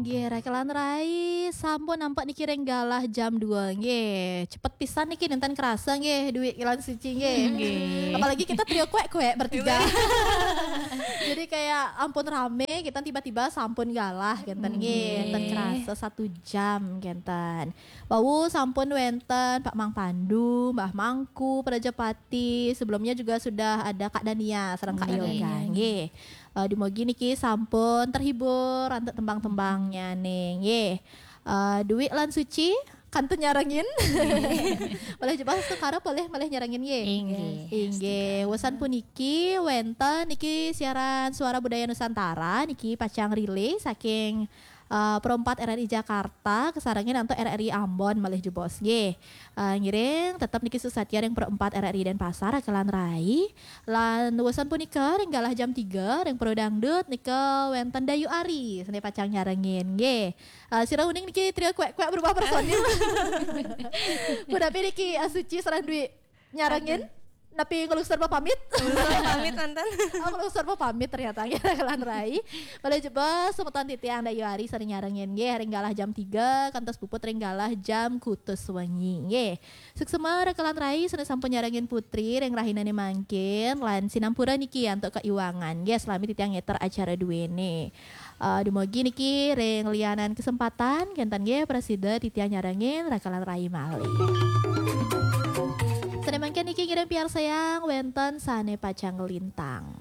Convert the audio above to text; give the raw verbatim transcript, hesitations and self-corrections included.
Nggih, Rakelan Rai, sampun nampak niki ring galah jam dua nggih. Cepet pisan niki, nenten kerasa nggih, Dwi lan Suci nggih. Nggih. Apalagi kita trio kuek-kuek bertiga. Jadi kayak ampun rame, kita tiba-tiba sampun galah kenten nggih. Nenten kerasa satu jam kenten. Wau sampun wenten Pak Mang Pandu, Mbah Mangku, Prajapati. Sebelumnya juga sudah ada Kak Dania sareng Kak Kak Yoga Dania. Nggih. Eh, dumugi niki sampun terhibur antuk tembang-tembangnya nih. Nggih. Eh, Dwi lan Suci kantun nyarengin. Malih jebos Astukara malih malih nyarengin nggih. Inggih. Inggih. Wusan puniki wenten niki siaran Suara Budaya Nusantara niki pacang relay saking eh, Pro empat R R I Jakarta kesarengin antuk R R I Ambon malih jebos nggih. Eh, ngiring tetep niki suksatya ring Pro empat R R I Denpasar Rakelan Rai. Lan wusan punika ring galah jam tiga ring Pro Dangdut nika wenten Dayu Ari sane pacang nyarengin nggih. Eh, sira uning niki trio kuek-kuek berubah personil. Punapi niki eh, Suci sareng Dwi nyarengin. Napi ngelungsur pamit? Ngelungsur pamit mantan. Oh, ngelungsur pamit ternyata nggih Rakelan Rai. Malih jebos semeton titiang Dayu Ari sareng nyarengin nggih ring galah jam tiga kantos puput ring galah jam kutus wengi nggih. Suksma Rakelan Rai sane sampun nyarengin Putri ring rahinane mangkin lan sinampura niki antuk kaiwangan nggih selami titiang ngeter acara duene. Eh, dumugi niki ring lianan kesempatan kenten nggih prasida titiang nyarengin Rakelan Rai malih. Sane mangkin niki ngiring piarsayang wenten sane pacang lintang.